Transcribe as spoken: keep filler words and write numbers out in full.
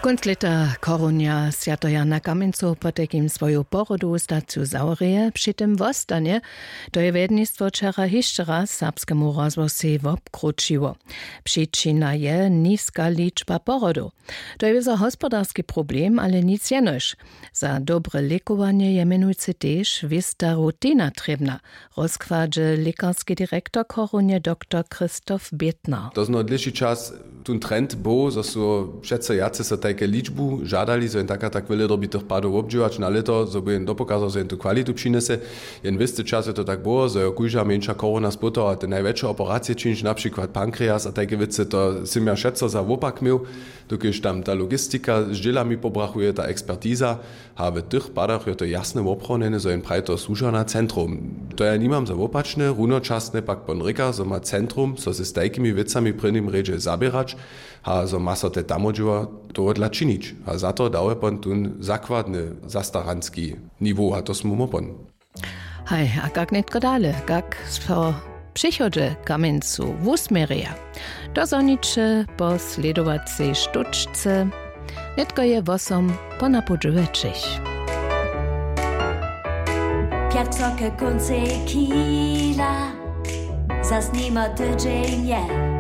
Kónc lěta chorunja swjateho jana kamjencow potajkim swoju porodowu staciju zawrěje, při tym wostanje. To je wjednistwo wčera hišće raz serbskemu rozhłosej wobkrućiło. Přičina je niska ličba porodow. To je wězo hospodarski problem, ale nic jenož. Za dobre lěkowanje je mjenujcy tež wěsta rutina trěbna, rozkładźe lěkarski direktor chorunje doktor Christoph Bětner. To zno dlěši čas tón trend był, zo su přeco wjace so tajke ličbu žadali, zo jen tak a tak wjele dyrbi tych padow wobdźěłać na lěto, zo by jen dopokazał, zo jen tu kwalitu přinjese. Jen wěsty čas je to tak było, zo je kóžda mjeńša chorowna spótała te najwjetše operacije činić, na přikład pankreas a tajke wěcy. To sym ja přeco za wopak měł, dokelž tam ta logistika z dźělami pobrachuje, ta ekspertiza. A w tych padach je to jasne woprawnjene, zo jen praji to słuža na centrum. To ja nimam za wopačne. Runočasne pak pon rěka, zo ma centrum so z tajkimi wěcami w prěnim rjedźe zaběrać a zo ma so te tamodźěła tohodla činić. A za to dał je pon tón zakładny zastaranski niwo a to smy mu pon. Haj, a kak nětko dale, kak so přichodźe kamjencu wusměrja? To zhoniće po slědowacej štóčce. Nětko je wosom po napołdźu wjetšich. Pjatřo k kóncej kila, zas nima tydźeń je.